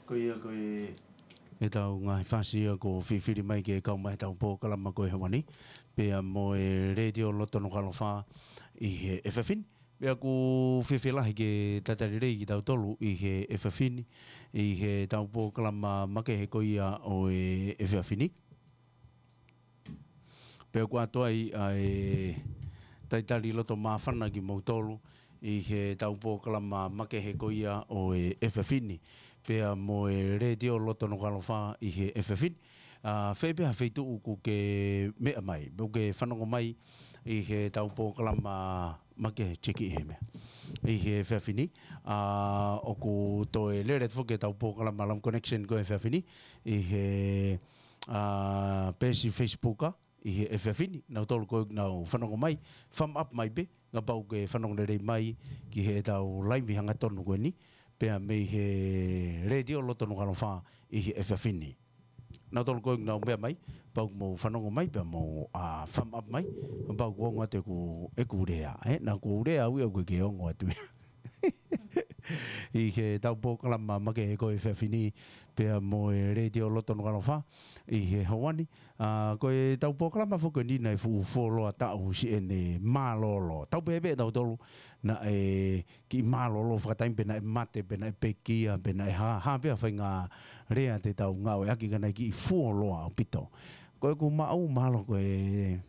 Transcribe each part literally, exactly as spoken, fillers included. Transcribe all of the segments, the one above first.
Ko ia ko e, ʻetau ngaahi fasi ia kuo fifili mai ke kau mai ʻetau polokalama ko e ʻaho ni, pea mo e Letiō Loto Nukuʻalofa ʻi he efiafi ni. Pea ʻoku fiefia lahi ke talitali lelei kitautolu ʻi he efiafi ni, ʻi heʻetau polokalama makehe ko ia ʻo e efiafi ni. Pea ʻoku ʻoatu ai ʻa e talitali loto māfana kimoutolu ʻi heʻetau polokalama makehe ko ia ʻo e efiafi ni, pea mo e Letiō Loto Nukuʻalofa ʻi he efiafi ni. ʻA, fē pē ha feituʻu ʻoku ke meʻa mai, pe ʻoku ke fanongo mai ʻi heʻetau polokalama makehe, checki ʻi he meʻa, ʻi he efiafi ni. ʻA, ʻoku toe lele atu foki ʻetau polokalama Love Connection ko e efiafi ni ʻi he, ʻa, peesi Facebook ʻi he efiafi ni. Nautolu ko ē ʻoku nau fanongo mai, thumb up mai pē, kapau ʻoku ke fanongo lelei mai ki heʻetau laivi hangatonu ko eni, pea mei he Letiō Loto Nukuʻalofa ʻi he efiafi ni. Nautolu ko ē ʻoku nau meʻa mai, kapau ʻoku mou fanongo mai, pea mou, ʻa, thumb up mai, kapau ʻoku ongo atu ʻeku, ʻeku lea, ē? Naʻa ku lea au ia ʻoku ʻikai ke ongo atu ia. ʻI heʻetau polokalama makehe ko e efiafi ni, pea mo e Letiō Loto Nukuʻalofa ʻi he ʻaho ni. ʻA, ko ʻetau polokalama foki ko eni naʻe fuʻu fuoloa taʻu siʻene mālōlō. Tau pehē pē ʻe tautolu naʻe kiʻi mālōlō fakataimi, pe naʻe mate, pe naʻe pekia, pe naʻe hā, hā pē ha faʻahinga lea te tau ngāueʻaki ka naʻe kiʻi fuoloa ʻaupito. Ko ʻeku maʻu mahalo ko e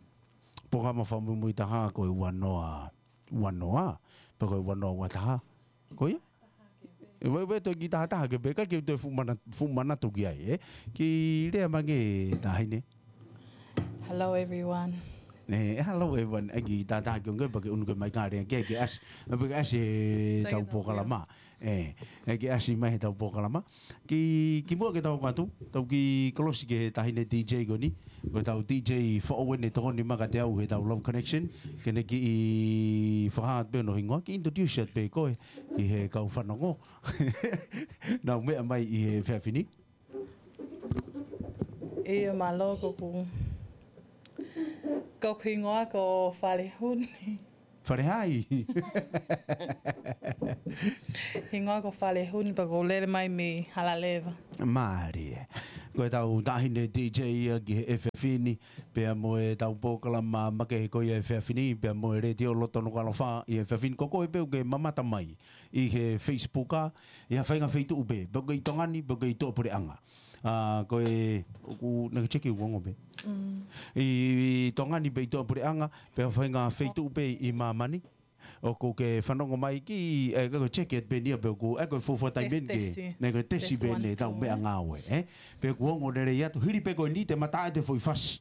polokalama fakamuimui taha ko e ua noa, ua noa, pe ko e ua noa ua taha. Ko ia? ʻE, ʻe, ʻe toe kiʻi tahataha ke pehē, kae ke toe fuʻu mana-, fuʻu manatu ki ai, ē? Kiʻi lea mai ange, Taʻahine. Hello, everyone. ʻE, hello, everyone. ʻAi kiʻi tahataha ki onge, pea ke ʻunu ke mai ka lea ke, ke ʻasi. Pea ke ʻasi heʻetau polokalama. ʻE, ʻai ke ʻasi mai heʻetau polokalama. Ki, kimuʻa ke tau ō atu, tau kiʻi kolosi ki he Taʻahine D J ko eni. Ko ʻetau D J foʻou eni ʻe tokoni mai kiate au heʻetau Love Connection. Ke ne kiʻi fakahā atu pē hono hingoa, kiʻi introduce atu pē koe ʻi he kau fanongo. Nau meʻa mai ʻi he efiafi ni. ʻIo, mālō, ko ʻeku, ko ʻeku hingoa ko Falehuni. Falehai. Hingoa ko Falehuni, pea ʻoku ou lele mai mei Halaleva. Mālie. Ko ʻetau Taʻahine D J ia ki he efiafi ni, pea mo ʻetau polokalama makehe ko ia efiafi ni, pea mo e Letiō Loto Nukuʻalofa ʻi he efiafi ni. Ko koe pē ʻoku ke mamata mai ʻi he Facebook ʻa, ʻi ha faʻahinga feituʻu pē, pe ʻoku ke ʻi Tonga ni, pe ʻoku ke ʻi tuʻapuleʻanga. ʻA, ko e, ʻoku, naʻa ke checki ʻoku ongo pē. Mm. ʻI, ʻi Tonga ni pe ʻi tuʻapuleʻanga, pe ha faʻahinga feituʻu pē ʻi māmani. ʻOku ke fanongo mai ki, ʻe, ko e checki atu pē eni ia pe ʻoku, ʻe, ko e fuofua taimi eni ke, tesi. Naʻe ko e tesi Tesi pē eni one, ʻetau two, meʻangāue, ē? Pe ʻoku ongo lelei atu, hili pē ko eni te ma tā atu e foʻi fasi.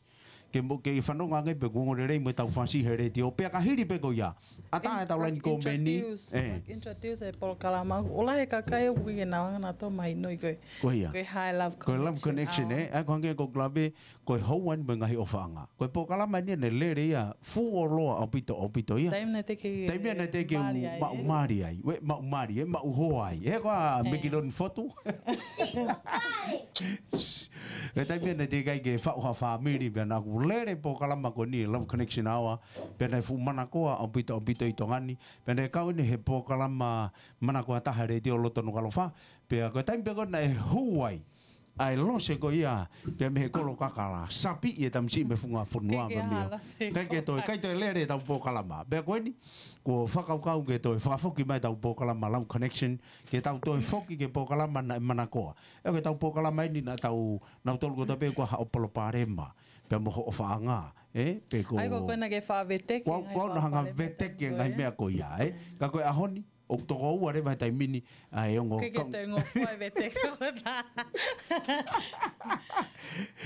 Ke mo, ke fanongo ange pe ʻoku ongo lelei mo ʻetau fasi he letiō. Pea ka hili pē ko ia, ʻatā ʻetau laine kōmeni. Introduce, ē, like, introduce e polokalama. ʻOku lahi e kakai ʻoku ʻikai ke nau hanga ʻo mahinoʻi ko e, ko ia, ko e hā e Love Connection, ʻe? ʻA, ko e hangē ko e lave, ko e houa ni mo e ngaahi ʻofaʻanga. Ko e polokalama eni naʻe lele ia, fuoloa ʻaupito, ʻaupito ia. Taimi naʻe teʻeki, taimi naʻe teʻeki ke u mali ai, maʻu, ē? Mali ai. ʻE, maʻu mali, ʻe, maʻu hoa ai. ʻE, ko e, ē, Mekiloni Fotu. ʻE, taimi naʻe teʻeki ai ke faʻu ha fāmili, pea naʻa ku lele polokalama ko eni, Love Connection Hour, pea naʻe fuʻu manakoa ʻaupito, ʻaupito ʻi Tonga ni, pea naʻe kau eni he polokalama manakoa taha letiō loto Nukuʻalofa, pea ko e taimi pē ko ē naʻe hū ai ʻa e lose ko ia, pea mei he kolo kakala, sapiʻi e tamasiʻi mei he funga fonua. ʻIkai ke mei ha lose. ʻIkai ke toe, ʻikai toe lele ʻetau polokalama. Pea ko eni, kuo fakakaukau ke toe fakafoki mai ʻetau polokalama Love Connection, ke tau toe foki ki he polokalama naʻe manakoa. ʻE, ko ʻetau polokalama eni naʻa tau, naʻa tau tolu ko tape kua haʻo palopalema, pea mo hoʻo ʻofaʻanga, ē? Pe ko, ʻai ko ē naʻa ke faʻa veteki, ko au, ko au naʻa hanga veteki e ngaahi meʻa ko ia, ē? Ka ko e ʻaho ni, ʻoku toko ua leva he taimi ni, ʻa e ongo. ʻIkai ke toe ngofua e veteki ko ē.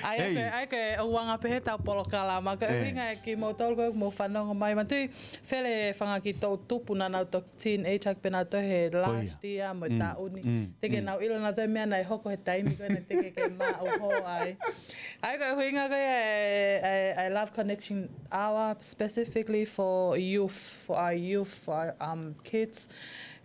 ʻAi, ʻai ko ē, ʻai ko ē, ʻoku anga pē heʻetau polokalama. Ko e ʻuhinga ē kimoutolu ko ē ʻoku mou fanongo mai. Manatuʻi, fele fanga ki toʻu tupu naʻa nau toki teenage, ʻaki pē nautolu he last year mo e taʻu ni. Teʻeki ke nau ʻilo nautolu e meʻa naʻe hoko he taimi ko ē naʻe teʻeki ke maʻu hoa ai. ʻAi ko e ʻuhinga ko ē ʻa e, ʻa e, ʻa e Love Connection Hour specifically for youth, for our youth, for our, um, kids.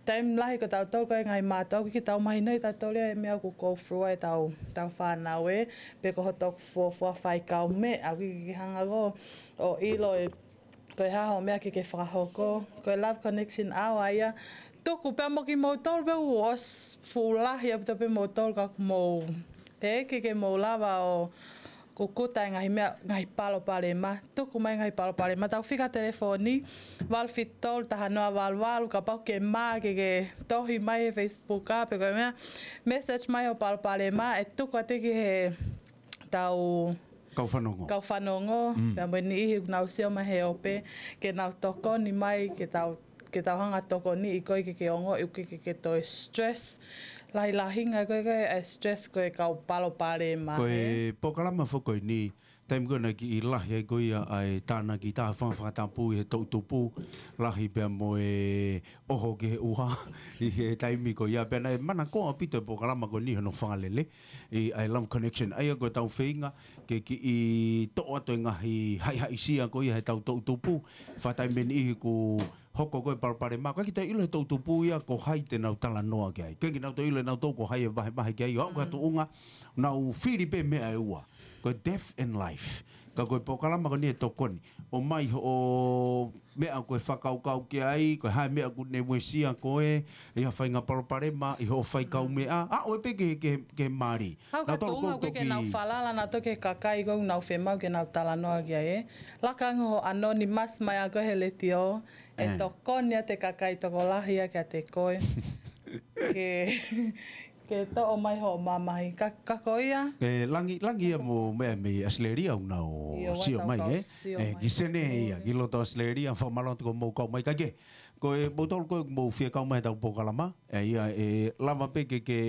Taimi lahi ko tautolu ko e ngaahi mātuʻa, ʻoku ʻikai ke tau mahinoʻi tautolu ia e meʻa ʻoku go through ai ʻetau, ʻetau fānau ē, pe ko hoto fuofua faikaumeʻa, ʻoku ʻikai ke hanga ʻo, ʻo ʻilo e, ko e hā hoʻo meʻa ke ke fakahoko. Ko e Love Connection Hour ia, Tuku pea mo kimoutolu pea ʻoku ʻosi fuʻu lahi ʻaupito pē moutolu ka ʻoku mou. Ē, ke ke mou lava ʻo kukuta e ngaahi meʻa, ngaahi palopalema. Tuku mai ngaahi palopalema. Tau fika telefoni, valu fitu tolu taha noa valu valu, kapau ke mā ke ke tohi mai he Facebook ā, pe ko e meʻa, message mai hoʻo palopalema, ʻe tuku atu ki he tau Kau fanongo. Kau fanongo, Mm. pea mo e niʻihi ʻoku nau sio mai he ope, ke nau tokoni mai, ke tau, ke tau hanga tokoniʻi koe ke ke ongoʻi ʻoku ke, ke, ke toe stress. Lahilahinga ko e, ko e stress ko e kau palopalema, Ko ē? e polokalama foki ko eni, taimi ko ē naʻe kiʻi lahi ai ko ia ʻa e tānaki tā fanga fakatapu ʻi he toʻutupu, lahi pea mo e ʻoho ki he ʻuha, ʻi he taimi ko ia pea naʻe manakoa ʻaupito e polokalama ko eni hono fakalele, ʻi ʻa e Love Connection. ʻA ia ko e tau feinga, ke kiʻi toʻo atu e ngaahi haʻihaʻisia ko ia he tau toʻutupu, fakatai meni ʻi he ʻoku hoko ko e palopalema. Ka kita ʻilo he toʻutupu ia ko hai te nau talanoa ki ai. Ke ke nau toe ʻilo e nau tau ko hai e vahevahe ki ai. ʻO aʻu ka Mm. tuʻunga, nau fili pē meʻa ʻe ua. Ko e death and life. Ka ko e polokalama ko eni e tokoni. ʻOmai hoʻo meʻa ko e fakakaukau ki ai, ko e hā e meʻa ʻoku ne uesia koe, ʻi ha faʻahinga palopalema, ʻi hoʻo faikaumeʻa. ʻA, ʻoe pē ke, ke, ke mali. Hau ka Nau tolu tuʻunga kou ko e ke toki nau falala, nau toki he kakai ko ʻoku nau fiemaʻu ke nau talanoa ki ai, ē. Laka ange ho anonymous mai ʻa koe he letiō, ʻe Eh. tokoni ʻa e kakai tokolahi ʻa kiate koe. Ke, ke toʻo mai hoʻo mamahi. Ka, ka ko ia? E, langi, langi ia mo meʻa mei Australia ʻoku nau ʻIo, ʻoua sio tau mai, kau ē? sio E, mai. ki Sene ia, ki loto Australia, fakamālō atu ko mou kau mai. Ka ke, ko e moutolu ko ē mou fie kau mai he tau polokalama, ʻa ia, ʻe lava pē ke, ke,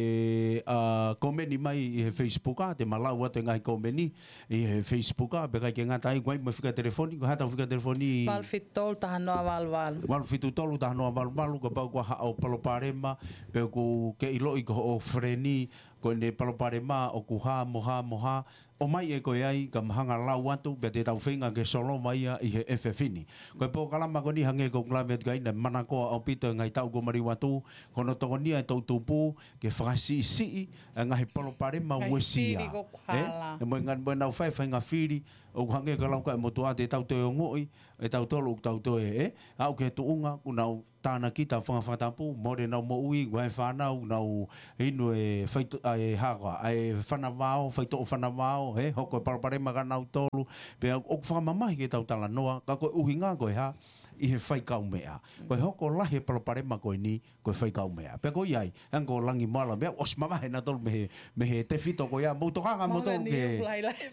ʻa, komeni mai ʻi he Facebook, ʻa, te ma lau atu e ngaahi komeni ʻi he Facebook, ʻa, pea ʻikai ke ngata ai, ko e ʻai mo e fika telefoni, ko e hā tau fika telefoni? Valu fitu tolu taha noa valu valu. Valu fitu tolu taha noa valu valu, kapau ʻoku ʻi ai haʻo palopalema, pe ʻoku ke ʻiloʻi ko hoʻo feleni, ko ʻene palopalema, ʻoku hā mo hā mo hā, ʻomai ʻe koe ai, ka ma hanga lau atu, pea te tau feinga ke solova ia ʻi he efiafi ni. Ko e polokalama ko eni hangē ko ʻeku lave atu ki ai naʻe manakoa ʻaupito he ngaahi taʻu kuo maliu atu, ko hono tokonia e toʻutupu, ke fakasiʻisiʻi, e ngaahi palopalema Ngaahi uesia. fili ko ē? hala. E mo e ngaahi, mo ʻenau fai, faʻahinga fili, ʻoku hangē ko e lau ko ē ʻa e motuʻa te tau toe ongoʻi, ʻe tautolu ʻoku tau toe, ē? Aʻu ki he tuʻunga, ʻoku nau tānaki tā fanga fakatapu, mole ʻenau moʻui, ʻoku ʻi ai e fānau, nau inu e faito-, ʻa e hā koā, ʻa e fanavao, faitoʻo fanavao, ē, hoko e palopalema kia nautolu, pea ʻoku fakamamahi ke tau talanoa, ka ko e ʻuhinga ko e hā, ʻi he faikaumeʻa. Ko e hoko lahi e palopalema ko eni, ko e faikaumeʻa. Pea ko ia ai, hangē ko Langi mo Ala, meʻa, ʻosi mavahe nautolu mei he, mei he tefito ko ia, mou tokanga Mau moutolu ka ni ke, uku lahi lahi.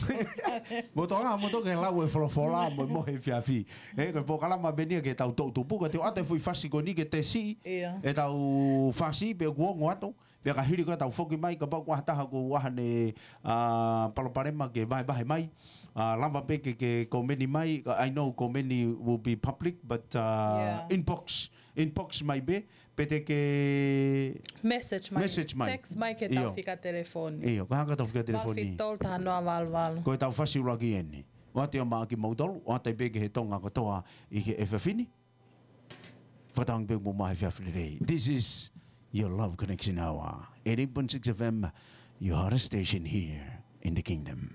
mou tokanga moutolu ke lau e folofola, mo, mo he efiafi. Ē, ko e polokalama pē eni ia ki he tau toʻutupu, ka te u ʻoatu e foʻi fasi ko eni ke tesi, Ia. e tau fasi, pea kuo ongo atu, pea ka hili ko ē tau foki mai, kapau ʻoku ʻi ai ha taha ʻoku ʻi ai haʻane, ʻa, palopalema ke vahevahe mai, ʻa, lava pē ke, ke komeni mai, ka I know komeni will be public, but, ʻa, Ia. inbox, inbox mai pē, pe te ke Message mai. message mai. Text mai ki he tau Io. fika telefoni. Io, ko e hā e tau fika telefoni? Valu fitu tolu taha noa valu valu. Ko e tau fasi ʻuluaki eni. ʻOatu ia maʻa kimoutolu, ʻoatu ai pē ki he Tonga kotoa ʻi he efiafi ni. Fakatauange pē mou maʻu ha efiafi lelei. This is your Love Connection Hour. Eighty-eight point six F M, your hottest station here in the kingdom.